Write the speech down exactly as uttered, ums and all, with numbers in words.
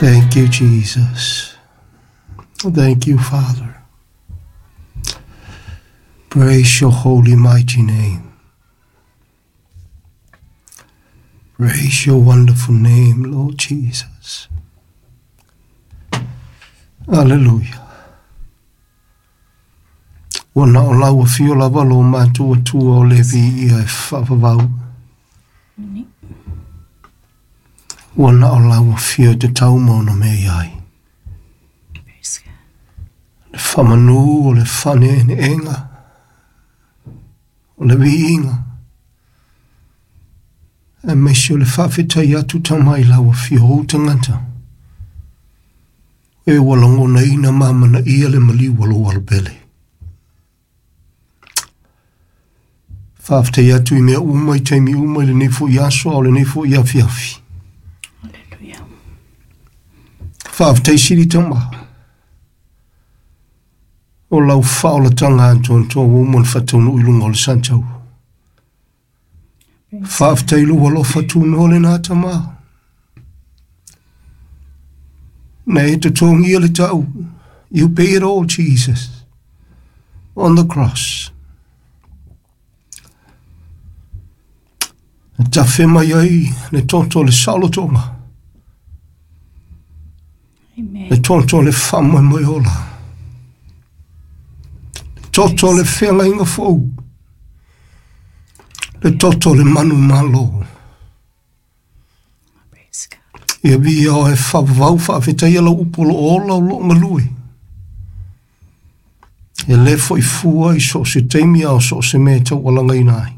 Thank you, Jesus. Thank you, Father. Praise your holy, mighty name. Praise your wonderful name, Lord Jesus. Hallelujah. Ua na o lau afio lava lo matua tua o le vi ia e whaavavau. Ua na o lau afio te tauma ona me iai. Le whamanu o le whane ene enga. O le viinga. E meisi o le whaafetai atu tamai lau afio o tangata. E ua langona ina mamana ia le maliu alo alopele. Whaafetai atu i mea uma i taimi uma i le nei fo i aso o le nei fo i afi afi. Hallelujah. Whaafetai siri tama. O lau whaolatanga antoantoa ua uma le whataunu i lunga o le santau. Whaafetai lo alofa tūnoa le nā tama. Na e te tongia le tau. You pay it all, Jesus, on the cross. E tawhe mai ai le toto le saolotoga. Amen. Le toto le whamoi mai ola. Le toto le whengainga fou. Le toto le manu malo. Praise God. Ia via o e whawau whaafetai lau upolo o lau lo ngalue. E le fo i fua i so se teimi au so se mea tau alanga ina ai.